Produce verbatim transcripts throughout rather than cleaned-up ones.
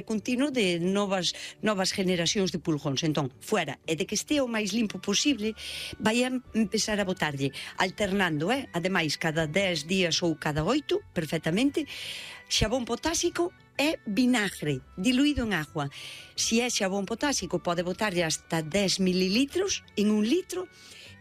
continuo de novas novas generacións de pulgóns. Entón, fuera, e de que este o máis limpo posible, vai a empezar a botarlle alternando, eh? Ademais, cada dez días ou cada oito, perfectamente, xabón potásico e vinagre diluído en agua. Si é xabón potásico, pode botarlle hasta dez mililitros en un litro,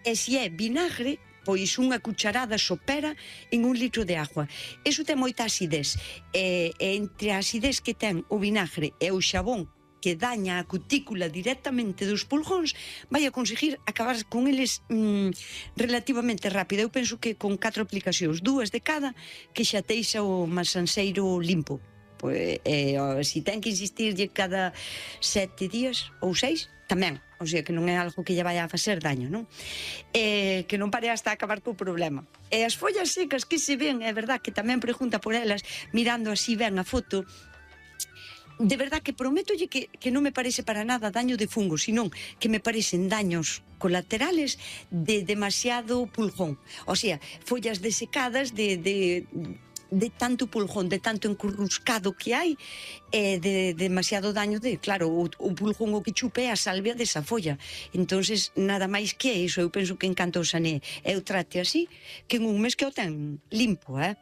e si é vinagre, pois unha cucharada sopera en un litro de agua. Eso ten moita acidez, e, e entre a acidez que ten o vinagre e o xabón que daña a cutícula directamente dos pulgóns, vai a conseguir acabar con eles mm, relativamente rápido. Eu penso que con catro aplicacións, dúas de cada, que xa teixa o masanseiro limpo. Pois, eh, si ten que insistirlle cada sete días ou seis, tamén. O sea, que non é algo que lle vai a facer daño, non? Eh, que non pare hasta acabar co problema. E as follas secas que se ven, é verdad que tamén pregunta por elas, mirando así ben a foto, de verdad que prométolle que, que non me parece para nada daño de fungo, senón que me parecen daños colaterales de demasiado pulgón. O sea, follas desecadas de... de de tanto pulgón, de tanto encurruscado que hai, e de, de demasiado daño de, claro, o, o pulgón o que chupe é a salvia desa folla. Entonces, nada máis que iso, eu penso que en canto o sané, eu trate así, que en un mes que o ten limpo, eh?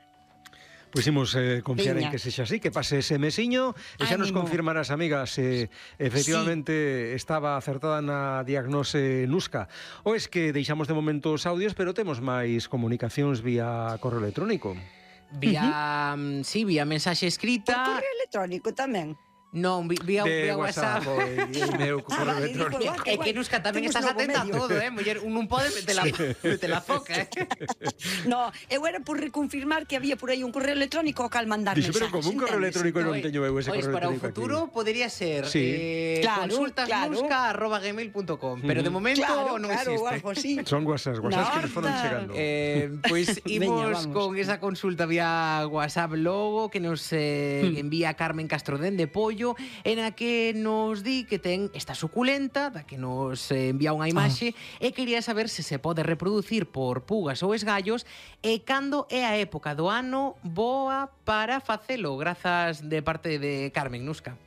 Pois imos eh, confiar Veña. en que sexa así, que pase ese mesiño e xa nos Ánimo. confirmarás, amigas, se efectivamente sí. estaba acertada na diagnose Nuska. Ou es que deixamos de momento os audios, pero temos máis comunicacións vía correo electrónico. Vía, uh -huh. sí, vía mensaxe escrita. Por correo electrónico tamén. Non, vía, vía WhatsApp. O meu correo electrónico. É que Nuska tamén estás atenta a todo, eh? Muller, un non pode meter la, meter la foca, eh? No, eu era por reconfirmar que había por aí un correo electrónico ao cal mandar Dixo, mensajes. pero como un correo electrónico non teño eu ese correo electrónico. Para o futuro aquí. podería ser sí. eh, claro, consultasnuska arroba gmail punto com, pero de momento claro, non claro, existe. Algo así. Son WhatsApp, WhatsApp no, que nos foron chegando. Eh, pois pues, imos con esa consulta vía WhatsApp logo que nos eh, hmm. envía Carmen Castrodén de Pollo, en a que nos di que ten esta suculenta, da que nos eh, envía unha imaxe, oh. e quería saber se se pode reproducir por pugas ou esgallos e cando é a época do ano boa para facelo. Grazas de parte de Carmen, Nuska.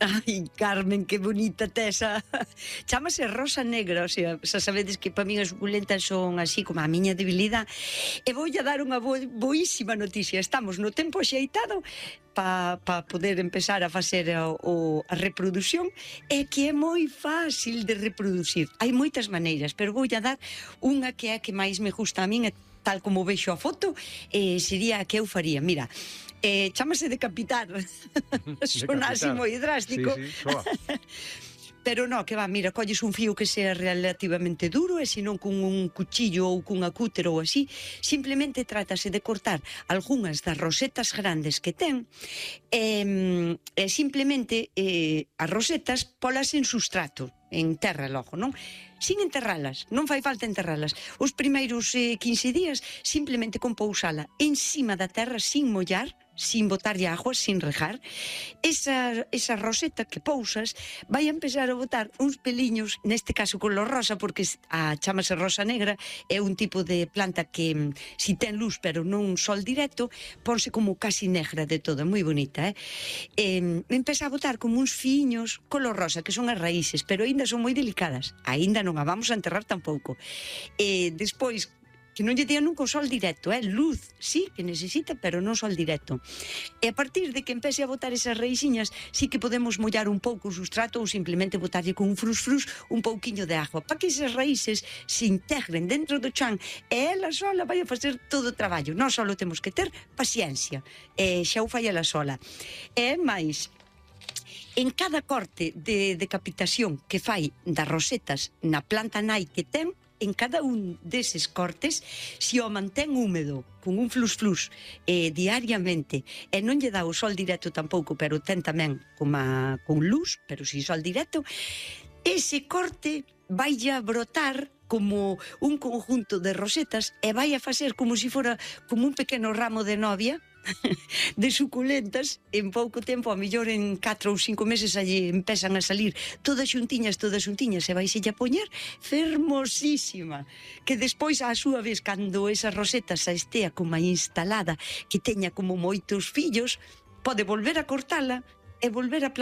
Ai, Carmen, que bonita tesa. Chámase rosa negra, o sea, xa sabedes que para min as suculentas son así como a miña debilidade. E voulle a dar unha bo boísima noticia. Estamos no tempo xeitado para pa poder empezar a facer a, o, a reproducción, e que é moi fácil de reproducir. Hai moitas maneiras, pero voulle a dar unha que é a que máis me gusta a min, tal como vexo a foto, eh, sería a que eu faría. Mira, Eh, chámase decapitar. Son así moi drástico. Sí, sí, soa. Pero no, que va, mira, colles un fío que sea relativamente duro, e senón con un cuchillo ou cunha cúter ou así, simplemente trátase de cortar algunhas das rosetas grandes que ten, e, e simplemente eh, as rosetas polas en sustrato, en terra logo, non? Sin enterralas, non fai falta enterralas. Os primeiros eh, quince días simplemente con pousala encima da terra sin mollar, sin botarlle agua, sin regar. Esa, esa roseta que pousas vai a empezar a botar uns peliños, neste caso color rosa, porque a chamase rosa negra, é un tipo de planta que si ten luz pero non sol directo, ponse como casi negra de todo, moi bonita, eh? eh empeza a botar como uns fiños color rosa, que son as raíces, pero aínda son moi delicadas, aínda non a vamos a enterrar tampouco. E despois, que non lle día nunca o sol directo, eh? Luz, sí, que necesita, pero non sol directo. E a partir de que empece a botar esas raíciñas, sí que podemos mollar un pouco o sustrato ou simplemente botarlle con un frus-frus un pouquiño de agua, para que esas raíces se integren dentro do chan, e ela sola vai a facer todo o traballo. Nós só temos que ter paciencia, e xa o fai ela sola. E máis, en cada corte de decapitación que fai das rosetas na planta nai que ten, en cada un deses cortes, se o mantén húmedo, con un flus-flus eh, diariamente, e non lle dá o sol directo tampouco, pero ten tamén como con luz, pero sin sol directo, ese corte vai a brotar como un conjunto de rosetas e vai a facer como se fora como un pequeno ramo de novia de suculentas. En pouco tempo, a mellor en catro ou cinco meses allí empezan a salir todas xuntiñas, todas xuntiñas, e vais a poñer fermosísima, que despois a súa vez, cando esa roseta xa estea como instalada, que teña como moitos fillos, pode volver a cortala e volver a plantar